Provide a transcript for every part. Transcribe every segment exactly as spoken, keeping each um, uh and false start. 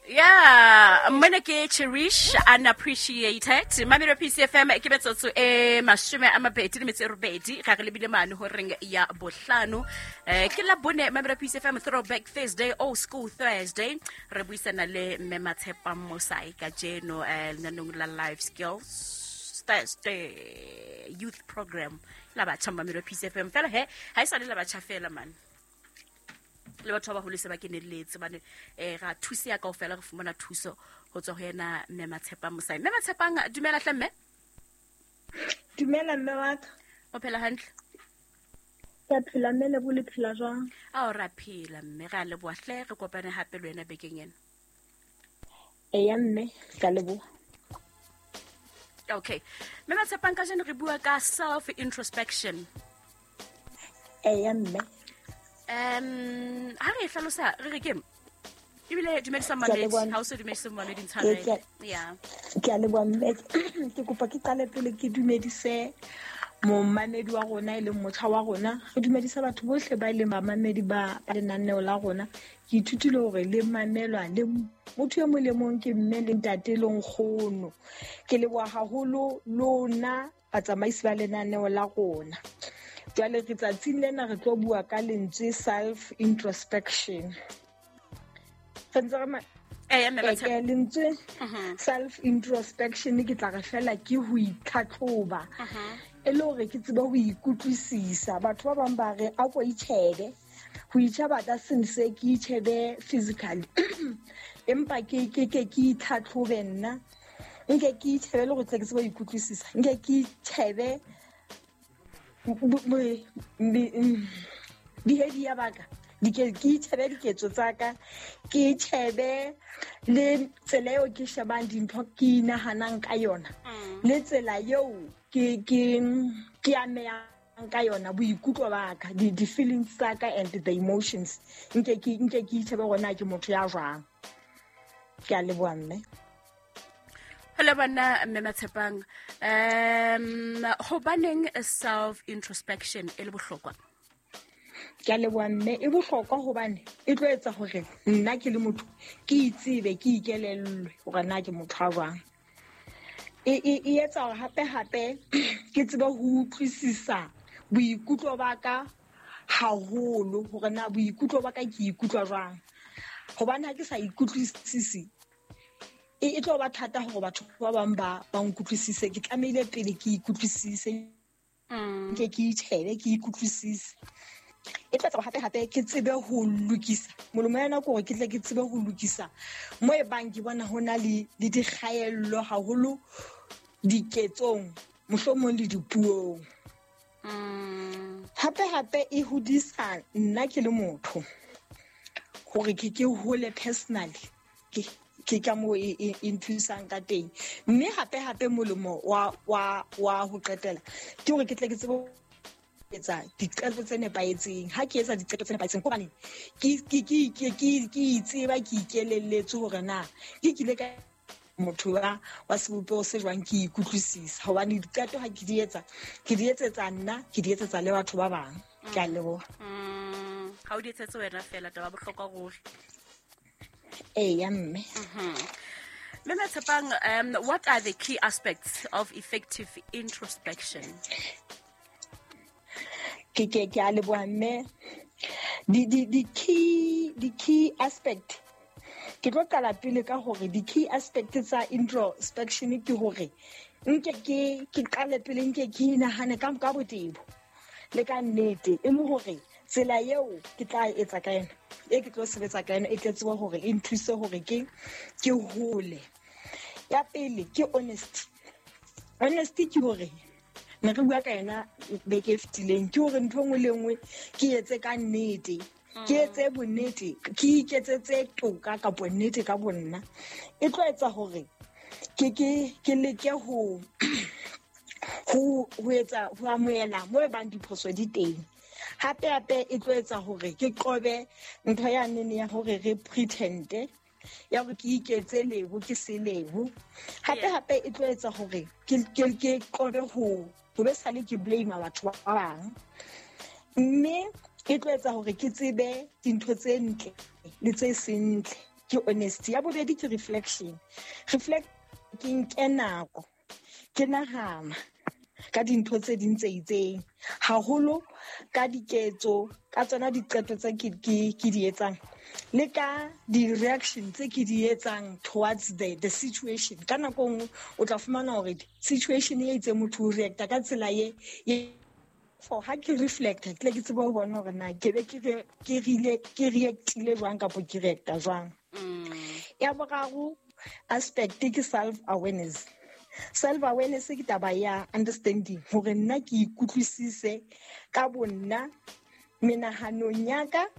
Yeah, mona ke Cherish Unappreciated. Mamelo P C F M ke metsotso e mashome a mabedi le metso e robedi ga re lebile mane horeng ya bohlano. Eh ke la bone Mamelo P C F M Throwback Thursday, Old School Thursday. Re buisana le Mme Matshepang Mosai kajeno eh lenanong la Life Skills Thursday Youth Program la batjha Mamelo P C F M. Fela he ha e sa le la batjha fela man. Le batho ba baholo se ba kenelletse bane eh ra thusa ya kaofela re fumana thuso ho tswa ho yena Mme Matshepang Mosai. Mme Matshepang, dumela hle mme. Dumela mme wa ka. O phela hantle? Ke phela mme, le bo le phela jwang? Ao ra phela mme, re a leboha hle, re kopane hape le wena bekeng ena. Eya mme, ka leboha. Okay. Mme Matshepang, kajeno re bua ka self introspection. Eya mme. Um ha re hlalosa re re ke ebile dumedisa mamedi, ha o se dumedisa mamedi ntshwarele. Yeah. Ke a leboha mme, ke kopa ke qale pele ke dumedise momamedi wa rona e leng motjha wa rona. Re dumedisa batho bohle ba e leng bamamedi ba lenaneo la rona. Ke ithutile hore le mamelwa le motho e mong le mong ke mme le ntate le nkgono. Ke leboha haholo lona batsamaisi ba lenaneo la rona. Jwale re tsatsing lena re tlo bua ka lentswe self introspection. Re ntse re ma- Eh, mme Matshepang. Eh, lentswe Mhm. self introspection ke tla re fela ke ho itlhatlhoba. Mhm. E le hore ke tsebe ho ikutlwisisa. Batho ba bang ba re a ko itjhebe. Ho itjheba ka sense ke itjhebe physically. Empa ke ke ke ke itlhatlhobe nna. Nke ke itjhebe le hore tle ke tsebe ho ikutlwisisa. Nke ke itjhebe behavior ba ka. Dike ke itjhebe diketso tsa ka, ke itjhebe le tsela eo ke shebang dintho ke inahanang ka yona, Mm. le tsela eo ke ke ke amehang ka yona, boikutlo ba ka, di, di feelings tsa ka and the emotions. Nke ke nke ke itjhebe hore na ke motho ya jwang. Ke a leboha mme. Hello bana Mme Matshepang. Um hobaneng self introspection e le bohlokwa? Ke a leboha mme, e bohlokwa hobane e tlo etsa hore nna ke le motho ke itsebe, ke ikelellwe hore na ke motho a jwang. E, e, e etsa hore hape hape ke tsebe ho utlwisisa boikutlo ba ka haholo, hore na boikutlo ba ka ke ikutlwa jwang. Hobane ha ke sa ikutlwisise, e, e tlo ba thata hore batho ba bang ba, ba nkutlwisise. Ke tlamehile pele ke ikutlwisise, Mm. ke ke itjhebe, ke ikutlwisise. E tla etsa hore hape hape ke tsebe ho lokisa. Molemo ya nako hore ke tle ke tsebe ho lokisa mo e bang ke bona ho na le, le dikgaello haholo diketsong, mohlomong le dipuong. Mm. Hape hape e hodisa nna ke le motho hore ke ke hole personally. Ke, ke ka moo e, e, e nthusang ka teng. Mme hape hape molemo wa, wa, wa ho qetela ke hore ke tle ke tsebe ho etsa diqeto tse nepahetseng. Ha ke etsa diqeto tse nepahetseng, hobane ke, ke, ke, ke, ke, ke itseba, ke ikelelletse hore na ke kile ka motho wa, wa sebopeho se jwang, ke ikutlwisisa. Hobane diqeto ha ke di etsa, ke di etsetsa nna, ke di etsetsa le batho ba bang. Ke a leboha. Mm. Ha o di etsetse wena fela, taba bohlokwa ruri. Eya mme. Mm-hmm. Mme Matshepang, um, what are the key aspects of effective introspection? Ke, ke, ke a leboha mme. Di, di, di key, di key aspect. Ke tlo qala pele ka hore di key aspect tsa introspection ke hore nke ke, ke qale pele nke ke inahane ka, ka botebo le ka nnete, e le hore tsela eo ke tla etsa ka yona, e ke tlo sebetsa ka yona, e tle tsebe hore e nthuse hore ke, ke hole. Ya pele ke honesty. Honesty ke hore ne re bua ka yona beke e fetileng, ke hore ntho e nngwe le nngwe ke etse ka nnete, ke etse bonnete, ke iketsetse toka kapo nnete ka bonna. E tlo etsa hore ke, ke, ke leke ho, ho, ho etsa, ho amohela mo e bang diphoso di teng. Hape hape e tlo etsa hore ke qobe ntho ya nene ya hore re pretende, ya hore ke iketse lebo ke se lebo. Hape Yeah. hape e tlo etsa hore ke, ke, ke qobe ho, ho be sale ke blame batho ba bang. Mme e tlo etsa hore ke tsebe dintho tse ntle le tse seng ntle. ke honesty. Ya bobedi ke reflection. Reflect ke nke nako ke nahana ka dintho tse ding tse itseng, haholo ka diketso, ka tsona diqeto tse ke ke ke di etsang le ka di-reaction tse ke di etsang towards the the situation. Ka nako nngwe o tla fumana hore situation e itseng motho o reacta ka tsela ye ye for ha ke reflecta ke tle ke tsebe ho bona hore na ke be ke re ke rile ke reactile jwang kapo ke reacta jwang. Ya boraro aspect ke self awareness. Self awareness ke taba ya understanding hore nna ke ikutlwisise ka bonna menahanong ya ka,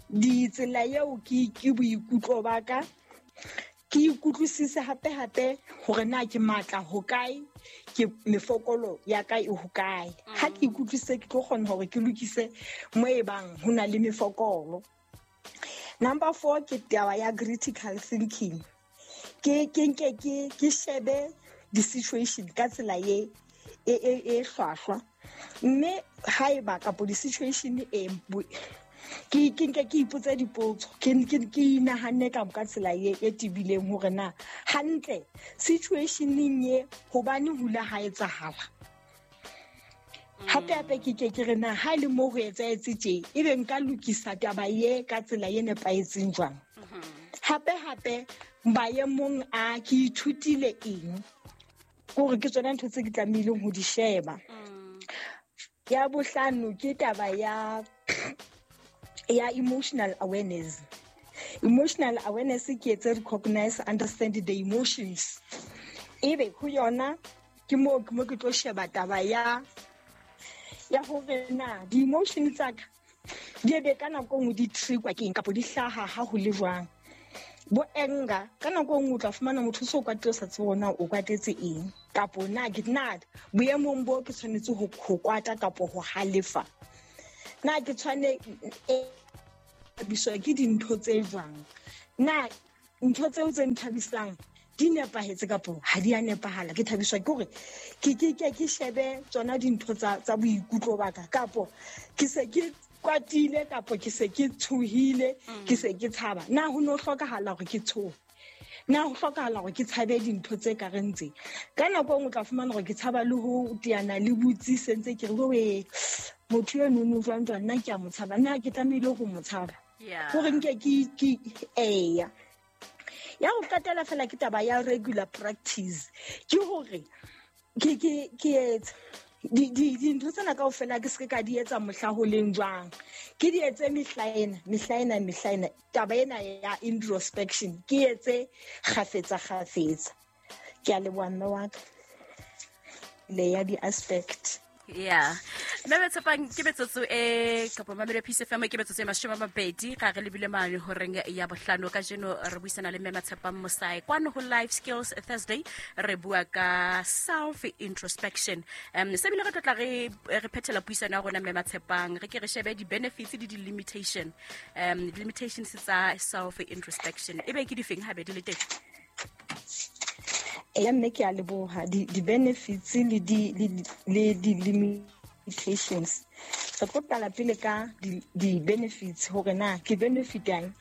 ditsela eo ke ke boikutlo ba ka, ke ikutlwisise hape hape hore na ke matla hokae, ke mefokolo ya ka e hokae. Ha ke ikutlwisise ke tlo kgona hore ke lokise mo e bang ho na le mefokolo. Number four ke taba ya critical thinking. Ke ke nke ke ke shebe di-situation ka tsela ye e e e hlwahlwa, mme haeba kapo di-situation e ke ke nke ke ipotse dipotso, ke ke ke inahanne ka ka tsela ye e tebileng hore na hantle situationeng ye hobane hula ha etsahala. Hape hape ke ke ke re na ha ile mo ho etsahetse tje, ebe nka lokisa taba ye ka tsela ye nepahetseng jwang. Hape hape maemong a ke ithutile eng, hore ke tsona ntho tse ke tlamehileng ho di sheba. Ya bohlano ke taba ya ya emotional awareness. Emotional awareness ke etse recognize, understand the emotions. Ebe ho yona ke mo ke mo ke tlo sheba taba ya ya hore na di-emotion tsa ka di ebe ka nako nngwe di triggerwa ke eng kapo di hlaha ha ho le jwang. Bo anger ka nako nngwe o tla fumana motho so kwatile o sa tsebe hore na o kwatetse eng, kapo na ke na boemong bo ke tshwanetse ho ho kwata kapo ho halefa, na ke tshwane thabiswa ke dintho tse jwang, na ntho tseo tse nthabisang di nepahetse kapo ha di a nepahala. Ke thabiswa ke hore ke ke ke ke shebe tsona dintho tsa tsa boikutlo ba ka, kapo ke se ke kwatile kapo ke se ke tshohile, ke se ke tshaba. Na ho no hlokahala hore ke tshohe? Na ho hlokahala hore ke tshabe dintho tse ka reng tse? Ka nako e nngwe o tla fumana hore ke tshaba le ho teana le botsi sentse ke re we motho eno no jwang jwang, nna ke a mo tshaba, na ke tlamehile ho mo tshaba? Hore nke ke ke eya. Ya ho qetela fela ke taba ya regular practice, ke hore ke ke ke etse di di dintho tsena kaofela ke se ka di etsa mohla ho leng jwang, ke di etse mehla ena mehla ena mehla ena. Taba ena ya introspection ke etse kgafetsa kgafetsa. Ke a leboha mme wa ka le ya di-aspect. Yeah. Mme Tshepang ke metsotso e kapo Mamelodi Peace F M ke metsotso e mashome a mabedi ga re lebile mane horeng ya bohlano. Kajeno re buisana le mme Tshepang Mosai kwano ho Life Skills Thursday, re bua ka self introspection. Um se bile re tla re re phethela puisano ya rona mme Tshepang, re ke re shebe di benefits le di limitation. Um di limitations tsa self introspection e be ke difeng ha be di le teng? Ya mme ke a leboha di di benefits le di le di limitations. Re tlo qala pele ka di di benefits hore na ke benefit yang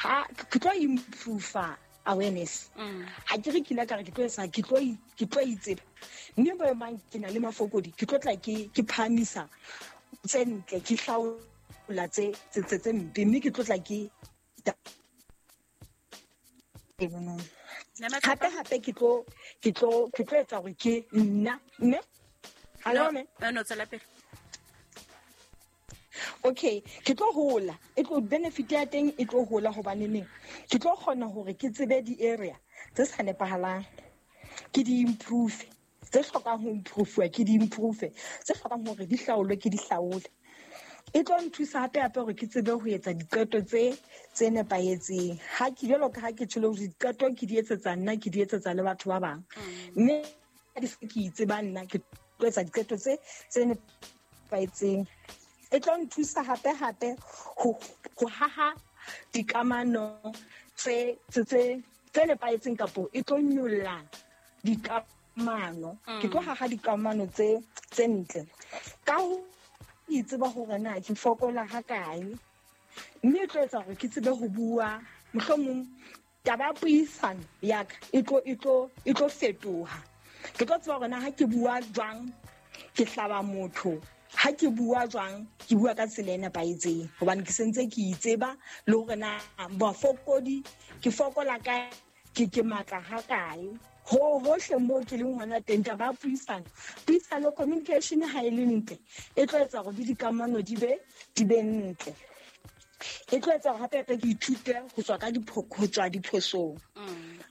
ha ke tlo improve awareness. Ha ke re ke ile ka re ke tlo etsa ke tlo ke tlo itseba mme bo mang ke na le mafokodi, ke tlo tla ke ke phahamisa tse ntle, ke hlaola tse tse tse mpe, mme ke tlo tla ke hape hape ke tlo ke tlo ke tlo etsa hore ke nna mme hallo mme no tswela pele. Okay, ke tlo hola, e tlo benefit ya teng e tlo hola hobane neng ke tlo kgona hore ke tsebe di area tse sa nepahalang, ke di improve, tse hlokang ho improve ke di improve, tse hlokang hore di hlaolwe ke di hlaole. E tlo nthusa hape hape hore ke tsebe ho etsa diqeto tse tse nepahetseng. Ha ke jwalo ka ha ke tsholo hore diqeto ke di etsetsa nna, ke di etsetsa le batho ba bang, mme ha di se ke itseba nna ke tlo etsa diqeto tse tse nepahetseng. E tlo nthusa hape hape ho ho haha dikamano tse tse tse tse nepahetseng, kapo e tlo nyolla dikamano. Ke tlo haha dikamano tse tse ntle ka ho itseba hore na ke fokola ha kae, mme e tlo etsa hore ke tsebe ho bua Mohlomong taba ya puisano ya ka e tlo e tlo e tlo fetoha. Ke tlo tseba hore na ha ke bua jwang ke hlaba motho, ha ke bua jwang ke bua ka tsela e nepahetseng, hobane ke sentse ke itseba le hore na bofokodi ke fokola kae, ke ke matla ha kae. Ho hohle moo ke leng hona teng, taba ya puisano, puisano communication ha e le ntle e tlo etsa hore le dikamano di be di be ntle. E tlo etsa hore hape hape ke ithute ho tswa ka dipho-, ho tswa diphosong.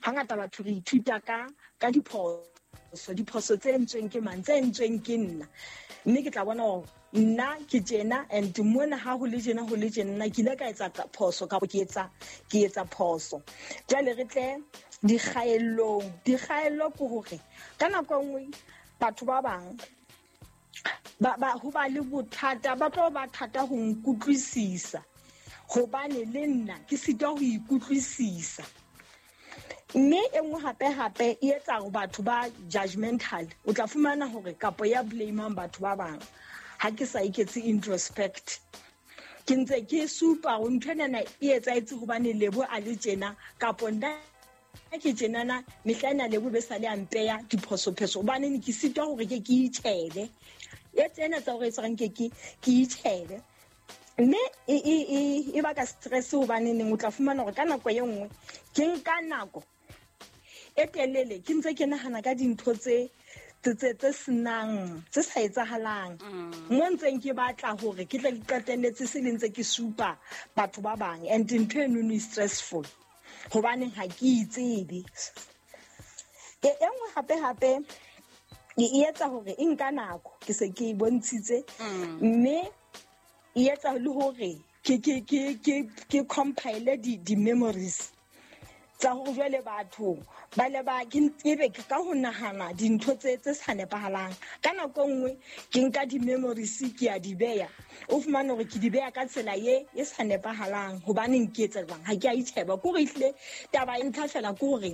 Hangata batho re ithuta ka, ka diphoso, diphoso tse entsweng ke mang, tse entsweng ke nna. Mme ke tla bona hore nna ke tjena, and mona ha ho le tjena, ho le tjena, nna ke ile ka etsa phoso kapa ke etsa, ke etsa phoso. Jwale re tle dikgaellong. Dikgaello ke hore ka nako e nngwe batho ba bang ba, ba, ho ba le bothata, ba tlo ba thata ho nkutlwisisa, hobane le nna ke sitwa ho ikutlwisisa. Mme e nngwe hape hape e etsa hore batho ba judgmental. O tla fumana hore kapo ya blame-ang batho ba bang ha ke sa iketse introspect. Ke ntse ke supa hore ntho enana e etsahetse hobane Lebo a le tjena, kapo nna ke tjenana, mehla ena Lebo be sa le a mpeya diphosopheso, hobane ne ke sitwa hore ke ke itjhebe. E tsena tsa hore e tshwarang ke ke ke itjhebe. Mme e, e, e, e baka stress, hobane neng o tla fumana hore ka nako e nngwe ke nka nako e telele ke ntse ke nahana ka dintho tse, tse, tse, tse senang, tse sa etsahalang. Mm. Mo ntseng ke batla hore ke tle ke qetelletse se le ntse ke supa batho ba bang, and ntho eno e stressful hobaneng ha ke itsebe. E, e nngwe hape hape e, e etsa hore e nka nako, ke se ke e bontshitse. Mm. Mme e etsa le hore ke, ke, ke, ke, ke compile di, di memories tsa hore jwale batho ba le ba, ke ebe ke ka ho nahana dintho tse, tse sa nepahalang. Ka nako e nngwe ke nka di-memories ke a di beya, o fumane hore ke di beya ka tsela ye e sa nepahalang. Hobaneng ke etsa jwang? Ha ke a itjheba. Ke hore ehlile taba e ntlha fela ke hore